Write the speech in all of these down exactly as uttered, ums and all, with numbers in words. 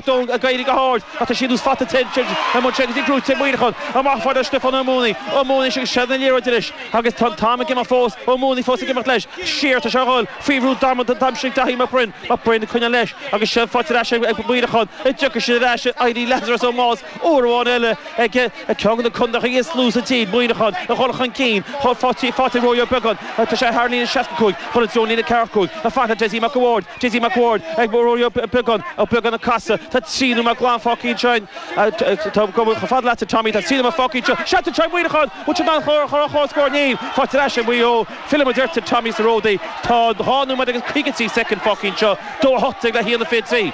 Ag éirí go hard ach tá siad fata agus brúite Muineachán amach fada Stiofán Ó Mónaí Ó Mónaí agus seilbh na liathróide anois agus tá an t-am ag imeacht fós Ó Mónaí fós ag imeacht leis siar tá sé ag dul faoi bhrú damanta d'aimsigh Daithí Mac Broin Mac Broin ag coinneáil leis agus seilbh faighte ar ais ag Muineachán an dtiocfaidh siad ar ais éirí Lazarus Ó Máls uair amháin eile ag ceann de na contaetha is lú sa tír Muineachán a dhul chun cinn faighte ag Rory Ó Beagáin tá sé thar líne seasca cúig chun an treo líne ceathracha cúig a fad le Dessie Mac a' Bhaird Dessie Mac a' Bhaird ag Rory Ó Beagáin Ó Beagáin ag casadh Tá trí nóiméad glan fágtha ansin. Tá chomh fada leatsa Tommy, tá trí nóiméad fágtha anseo. Seans anseo ag Muineachán! Bhfuil siad in ann a chur chun scóir? Níl. Faighte ar ais ag Maigh Eo. Fillfidh muid ort Tommy sa Ródaí. Tá dhá nóiméad agus caoga trí soicind fágtha anseo. Dó a hocht déag le haon a fiche trí.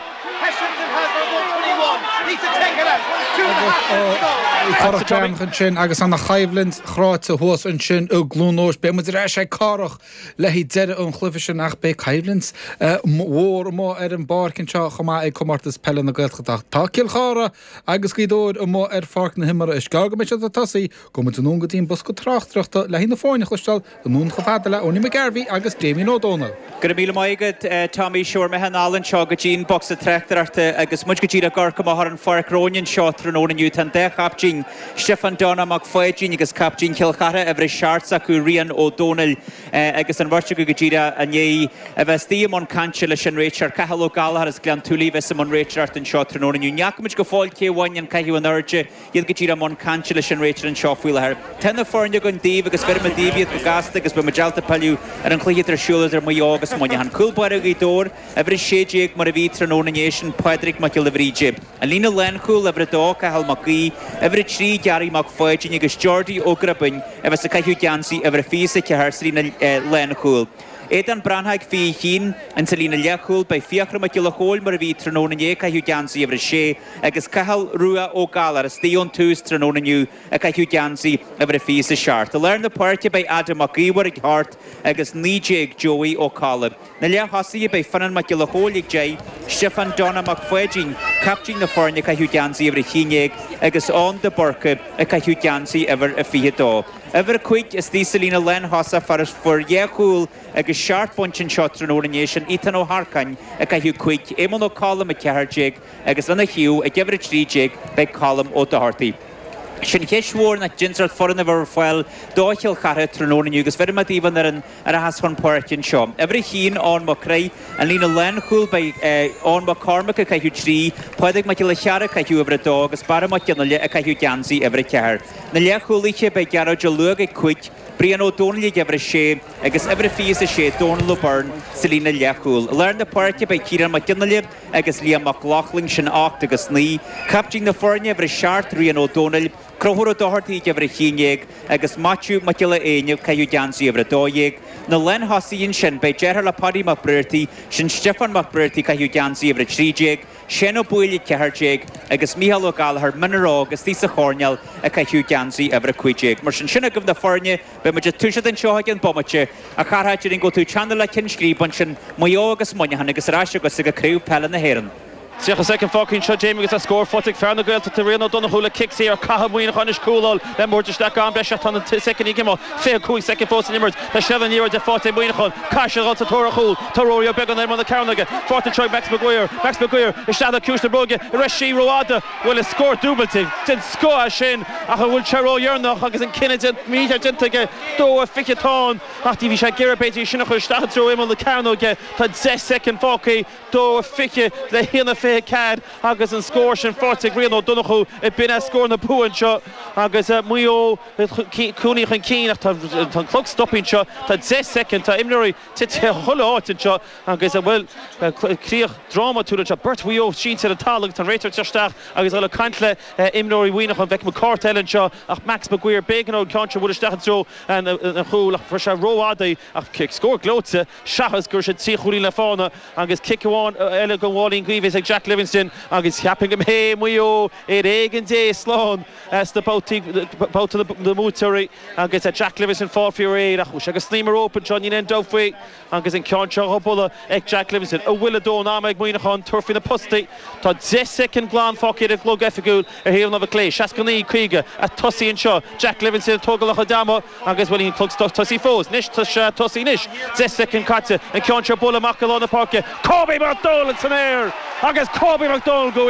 Cárthach Breathnach ansin agus ana choimhlint chráite thuas ansin i gCluain Eois. Beidh muid ar ais ag Cárthach le haghaidh deireadh an chluiche sin ach beidh coimhlint mhór amuigh ar an bpáirc anseo chomh maith ag Comórtas Peile na Gaeltachta. Tá Cill Chartha agus Gaoth Dobhair amuigh ar pháirc na himeartha. Is gearr go mbeidh siad ag tosaí. Gabhfaidh muid anonn go dtí an bosca tráchtaireachta le haghaidh na foirne a chloisteáil anonn chomh fada le Owenie McGarvey agus Damien Ó Dónaill. Go raibh míle maith agat Tommy. Seo mé anall anseo go dtí an bocsa tráchtaireachta agus muid go díreach ag amharc amach ar an pháirc romhainn anseo tráthnóna inniu. Tá an dá chaiptín, Stiofán Donagh Mac Pháidín agus captaen Chill Chartha, uimhir a seacht s'acu, Rian Ó Dónaill, agus an bheirt acu go díreach i ndiaidh a bheith istigh i mbun cainte leis an réiteoir, Cathal Ó Gallchóir as Gleann tSúilí a bheas i mbun réiteoireachta anseo tráthnóna inniu. Ní fhaca muid go fóill cé a bhain an caitheamh in airde, iad go díreach i mbun cainte leis an réiteoir anseo faoi láthair. Tá na foirne againn daoibh agus bheirfidh muid daoibh iad go gasta agus beidh muid ábalta pilleadh ar an chluiche atá ar siúl idir Maigh Eo agus Muineachán. Cúl báire Ghaoth Dobhair, uimhir a sé déag mar a bhí tráthnóna inné, sin Pádraig Mac Giolla Bhríde. An líne lánchúil, uimhir a dó, Cathal Mac Aoidh, uimhir a trí, Gearaí Mac Pháidín agus Geordie Ó Gribín a bheas ag caitheamh geansaí uimhir a fiche is a ceathair sa líne lánchúil. Aodán Breathnach ag fiche a haon insa líne leathchúil, beidh Fiachra Mac Giolla Chóill mar a bhí tráthnóna inné ag caitheamh geansaí uimhir a sé agus Cathal Rua Ó Gallchóir istigh ón tús tráthnóna inniu ag caitheamh geansaí uimhir a fiche is a seacht. I lár na páirce beidh Adam Mac Íomhair ag hocht agus naoi déag Joey Ó Colla. Na leath-thosaithe beidh Fionnán Mac Giolla Chóill ag deich, Stiofán Donagh Mac Pháidín, captaen na foirne ag caitheamh geansaí uimhir a haon déag agus Eoin de Búrca ag caitheamh geansaí uimhir a fiche dó. Uimhir a cúig istigh sa líne lánthosach fear a fuair dhá chúl agus seacht bpointe anseo tráthnóna inné sin Ethan Ó hEarcáin ag caitheamh cúig, Éamonn Ó Colm ag ceathair déag agus lena thaobh ag uimhir a trí déag beidh Colm Ó Dochartaigh. Sin cheist mhór ná cén sórt foireann a bheidh ar fáil do Chill Chartha tráthnóna inniu agus bheirfidh mé daoibh an fhoireann a rachas chun páirce anseo. Uimhir a haon, Eoin Mac Craith, an líne lánchúil beidh Eoin Mac Cormaic ag caitheamh trí, Pádraig Mac Giolla Chearra ag caitheamh uimhir a dó agus Barra Mac Fhionnghaile ag caitheamh geansaí uimhir a ceathair. Na leathchúlaithe beidh Gearóid Ó Luaig ag cúig, Brian Ó Dónaill ag uimhir a sé agus uimhir a fiche is a sé Dónal Ó Beirn sa líne leathchúil. I lár na páirce beidh Ciarán Mac Fhionnghaile agus Liam Mac Lochlainn, sin ocht agus naoi. Captaen na foirne, uimhir a seacht, Rian Ó Dónaill, Conchúr Ó Dochartaigh ag uimhir a haon déag agus Maitiú Mac Giolla Éinne ag caitheamh geansaí uimhir a dó dhéag. Na lánthosaithe ansin, beidh deartháir le Paddy Mac Briartaigh, sin Stiofán Mac Briartaigh ag caitheamh geansaí uimhir a trí déag, Seán Ó Baoill ag ceathair déag agus Mícheál Ó Gallchóir, Mionar Óg, istigh sa choirnéal ag caitheamh geansaí uimhir a cúig déag. Mar sin, sin agaibh na foirne. Beidh muid ag toiseacht anseo i gceann bomaite. A Chárthaigh, déarfainn go bhfuil tú ag teannadh le ceann scríbe ansin, Maigh Eo agus Muineachán agus ar ais agatsa go Craobh Peile na hÉireann. Tríocha soicind fágtha anseo Jamie agus tá scór faighte ag fear na Gaeltachta Rian Ó Donnchú le cic saor. Caithfidh Muineachán anois cúl a fháil le muid isteach go am breise ach tá na soicindí ag imeacht. Fiche cúig soicind fós san imirt. Tá seilbh na liathróide faighte ag Muineachán. Caithfidh siad a dhul sa tóir ar chúl. Tá Rory Ó Beagáin ar imeall na cearnóige. Faighte anseo ag Max Maguire. Max Maguire isteach le ciumhais na bróige. An raibh sí rófhada? Bhuel is scór dúbailte den scoth é sin ach an bhfuil sé ródheireanach agus an cinneadh mícheart déanta aige dó a fiche atá ann ach bhí sé ag iarraidh b'fhéidir í sin a chur isteach i dtreo imeall na cearnóige. Tá deich soicind fágtha, dó a fiche le haon a fiche ceathair agus an scór sin faighte ag Rian Ó Donnchú. B'in é scór na bua anseo agus Maigh Eo cúilín chun cinn ach tá an clog stoptha anseo. Tá deich soicind, tá imreoirí tite chuile áit anseo agus, bhuel, críoch drámatúil anseo. Beirt Mhaigh Eo sínte ar an talamh agus tá an réiteoir ag teacht isteach agus ag dul ag caint le imreoirí Mhuineacháin. Feicim cárta eile anseo ach Max Maguire, b'éigean dó an ceann seo a bhualadh isteach i dtreo an chúil ach fuair sé rófhada í ach scór gleoite seachas go raibh sé trí chúilín le fána agus cic amháin eile den mháilín gaoithe ag Jack Livingstone agus cheapfainn go mbeidh Maigh Eo ar éigean Dé slán sna babhtaí, babhta na mbuaiteoirí. Agus Jack Livingstone fáil faoi réir ach chuaigh sé go snaidhm an rópa anseo, níl aon dabht faoi. Agus an ceann seo á bhualadh ag Jack Livingstone. An bhfuil a dóthain ama ag Muineachán tabhairt faoi na postaí? Tá deich soicind glan fágtha ar an gclog oifigiúil ar thaobh an láimhe clé. Seasca naoi, caoga, ag tosaí anseo. Jack Livingstone ag tógáil a chuid ama agus bhuel níl an clog tosaithe fós. Anois tá sé tosaithe anois. Deich soicind caite. An ceann seo bualadh amach i lár na páirce. Kobe McDonald san aer agus Kobe McDonald go